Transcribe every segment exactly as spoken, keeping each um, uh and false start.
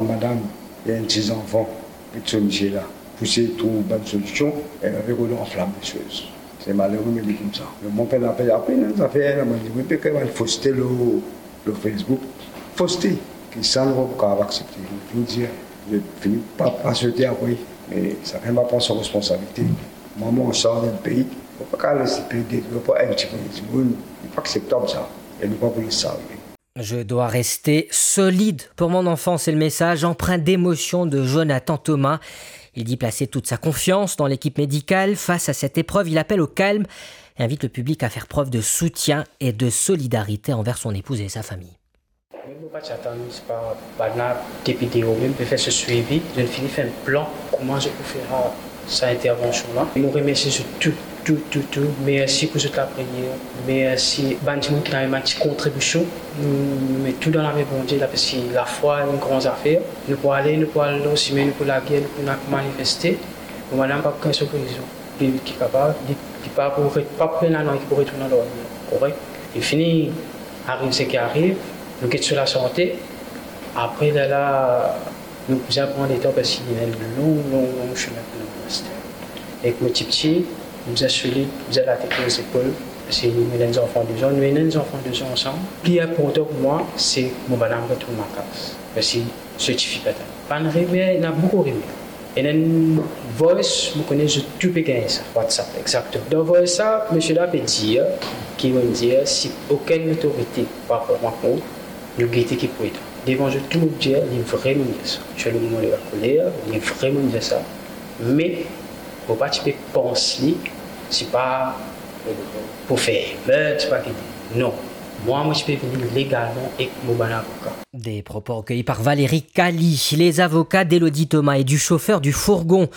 Madam, ena enn ti zanfan, met so misie la, pou sey trouv bann solision, e avek ou anflam lesoz. Se malere, mo dir koumsa. Me mo pena pe apel enn zafer la, mo dir, wi, pe kre bann foste lor, lor Facebook. Foste, ki sa nou pa pou kapav aksepte. Mo finn dir, mo fini pa, pa swete apre, me sakenn va pran so responsabilite. Mwa, mo sort dan pei, mo pa kapav les pei detrir par enn ti pwin dimoun, li pa akseptab sa, e nou pa pou les sa arive. Je dois rester solide pour mon enfant, c'est le message empreint d'émotion de Jonathan Thomas. Il dit placer toute sa confiance dans l'équipe médicale. Face à cette épreuve, il appelle au calme et invite le public à faire preuve de soutien et de solidarité envers son épouse et sa famille. Mem mo pa ti atann, se pa, bannla depi deor mem pe fer so swivi, zot fini fer enn plan kouma zot pou fer sa intervansion la. Mo remersie zot tou, tou, tou, tou. Mersi pou zot lapriyer. Mersi bann dimoun ki donn bann ti kontribision. Nou met tou dan lame Bondie, la, parski lafwa enn gran zafer. Nou pou ale, nou pou al lor sime, nou pou lager, nou pou manifeste. Mo madam pa pou gagn so gerizon. Li, li kapav, li, li pa pou re-, pa pou ena nanye ki pou retourn lor li, korek? Li fini, ariv seki ariv, nou get so lasante. Apre, lerla, nou bizin pran letan, parski ena enn long, long, long sime pou nou aster. Ek mo tipti, nou bizin solid, nou bizin latet lor zepol, parski nou ena enn zanfan de-z-an, nou ena enn zanfan de-z-an ansam. Pli inportan pou mwa, se mo bann-la retourn lakaz, parski so tifi pe atann. Bann rimer, ena boukou rimer. Ena enn voice, mo kone zot tou pe gagn sa, WhatsApp, exakteman. Dan voice sa, misie la pe dir, ki mo dir, si okenn lotorite pa pran kont, nou gete ki pou ete. Devan zot tou, mo dir, li vremem dir sa. Ti ena moman li lakoler, li vremem dir sa. Me, mo pa ti pe pans li, se pa, euh, pou fer emeut, se pa ki, non. Mwa, mo ti pe vini legalman ek mo bann avoka. Des propos recueillis par Valérie Cali. Les avocats d'Elodie Thomas et du chauffeur du fourgon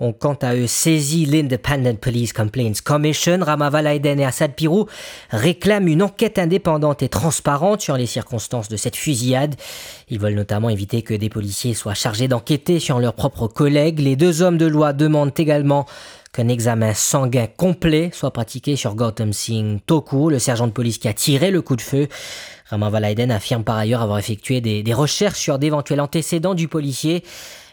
ont quant à eux saisi l'Independent Police Complaints Commission. Rama Valaiden et Asad Pirou réclament une enquête indépendante et transparente sur les circonstances de cette fusillade. Ils veulent notamment éviter que des policiers soient chargés d'enquêter sur leurs propres collègues. Les deux hommes de loi demandent également qu'un examen sanguin complet soit pratiqué sur Gautam Singh Toku, le sergent de police qui a tiré le coup de feu. Rama Valaiden affirme par ailleurs avoir effectué des, des recherches sur d'éventuels antécédents du policier,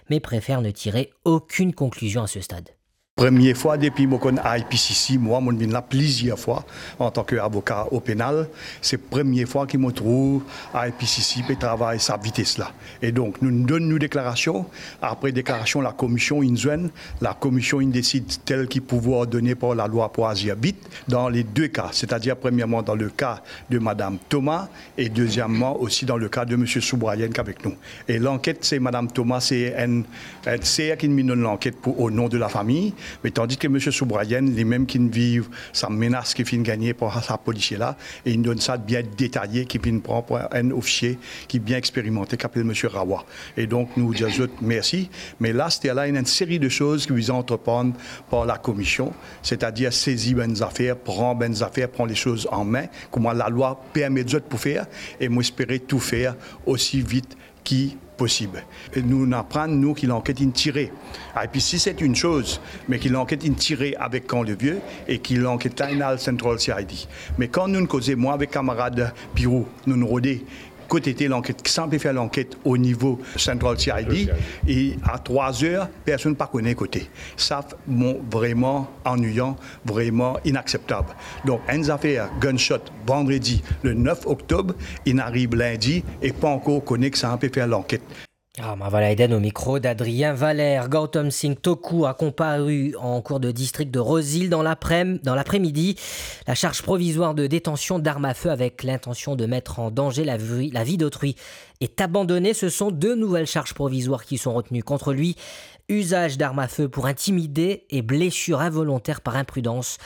mais préfère ne tirer aucune conclusion à ce stade. Premie fwa depi mo konn I P C C, mwa, mo vinn la plizier fwa antan ki avoka o penal, se premie fwa ki mo trouv I P C C pe travay sa vites la. E donk, nou donn nou deklarasion, apre deklarasion lakomision inn zwenn, lakomision inn desid tel ki pouvwar done par lalwa pou azir vit, dan le de ka, setadir premierman dan le ka de madam Thomas e deziemman osi dan le ka de misie Soubrayen ki avek nou. E lanket, se madam Thomas, se enn, enn ser ki inn donn lanket pou o non de lafami, me tandis ki misie Soubrayen, limem ki inn viv sa menas ki finn gagne par sa polisie la, e inn donn sa bien detaye ki finn pran par enn ofisie ki bien experimante, ki apel misie Rawa. E donk, nou dir zot mersi. Me la, aster la, ena enn seri de soz ki bizin antreprann par lakomision, setadir sezi bann zafer, pran bann zafer, pran lesoz an me, kouma lalwa permet zot pou fer, e mo espere tou fer osi vit ki posib. E nou, nou aprann, nou, ki lanket inn tire. I P C C, se enn soz, me ki lanket inn tire avek Camp Levieux e ki lanket la inn al Central C I D. Me kan nou koze, mwa avek kamarad Pirou, nou rode kot ete lanket, ki sa pe fer lanket o nivo Central C I D, e a trwa zer, personn pa kone kote. Sa, bon, vreman anwiyan, vreman inakseptab. Donk, enn zafer gunshot vandredi le nef oktob, inn ariv lindi e pa ankor kone ki sa pe fer lanket. Rama Valaiden au micro d'Adrien Valère. Gautam Singh Toku a comparu en cour de district de Rose-Hill dans l'après-, dans l'après-midi. La charge provisoire de détention d'armes à feu avec l'intention de mettre en danger la vie, la vie d'autrui est abandonnée. Ce sont deux nouvelles charges provisoires qui sont retenues contre lui. Usage d'armes à feu pour intimider et blessure involontaire par imprudence.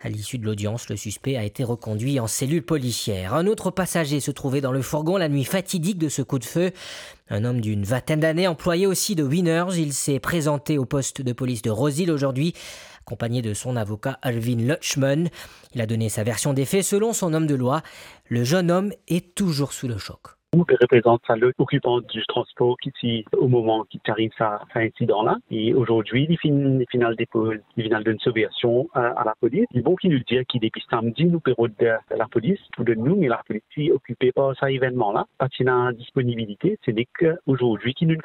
À l'issue de l'audience, le suspect a été reconduit en cellule policière. Un autre passager se trouvait dans le fourgon la nuit fatidique de ce coup de feu. Un homme d'une vingtaine d'années, employé aussi de Winners. Il s'est présenté au poste de police de Rose-Hill aujourd'hui, accompagné de son avocat Arvind Lutchman. Il a donné sa version des faits. Selon son homme de loi, le jeune homme est toujours sous le choc. Nou pe reprezant sa lot okipan di transpor ki ti o moman ki ti ariv sa, sa insidan la. E azordi, li finn, li finn al depoz, li finn al donn so version a, a lapolis. Li bon ki nou dir ki depi samdi, nou pe rod, eh, lapolis pou donn nou, me lapolis ti okipe par sa evennman la, pa ti ena disponibilite. Se nek azordi ki nou